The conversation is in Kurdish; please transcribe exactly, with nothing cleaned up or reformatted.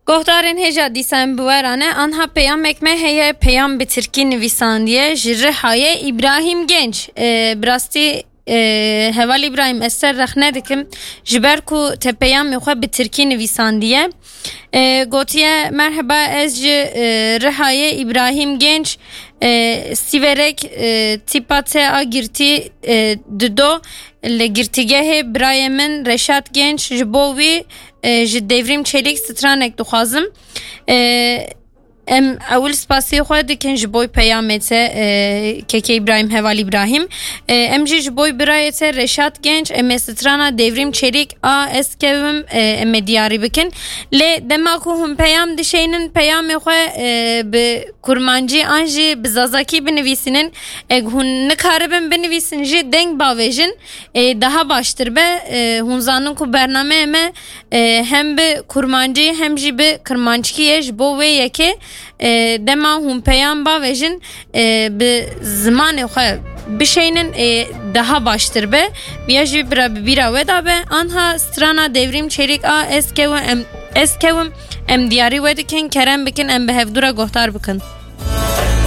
Guhdarên hêja dîsa em bi we re ne. Anha peyamek me heye, peyam bi tirkî nivîsandiye ji Rihayê Îbrahîm Genç. E, bi rastî, e, Heval Îbrahîm, ez ser rexne dikim, ji ber ku te peyamê xwe bi tirkî nivîsandiye. E, gotiye, "Merheba, ez ji, e, Rihayê Îbrahîm Genç, e, Sîverek, e, tîpa te a girtî, e, dido li girtîgehê birayê min Reşat Genç, ji bo wî, e, ji Devrîm Çelîk stranek dixwazim." E, em ewil spasiyê xwe dikin ji boy peyamê te, e, Keke Îbrahîm, Heval Îbrahîm. E, em jî ji boy birayê te Reşat Genç, em ê strana Devrîm Çelîk a Ez Kewim, e, em ê diyarî bikin. Lê dema ku hûn peyam dişeynin, peyamê xwe, e, bi kurmancî an jî bi zazakî binivîsînin. Eg hûn nikaribin binivîsin jî, deng bavêjin, e, daha baştir be. E, hûn zanin ku bernameyê me, e, hem bi kurmancî hem jî bi kirmanckî ye. Ji bo wê yekê, e, dema hûn peyam bavêjin, e, bi zimanê xwe bişeynin, e, daha baştir be. Viya jî bira bi bîra we da be. Anha strana Devrîm Çelîk a Ez Kewim, em, Ez Kewim, em diyarî we dikin, kerem bikin, em bi hevdû re guhdar bikin.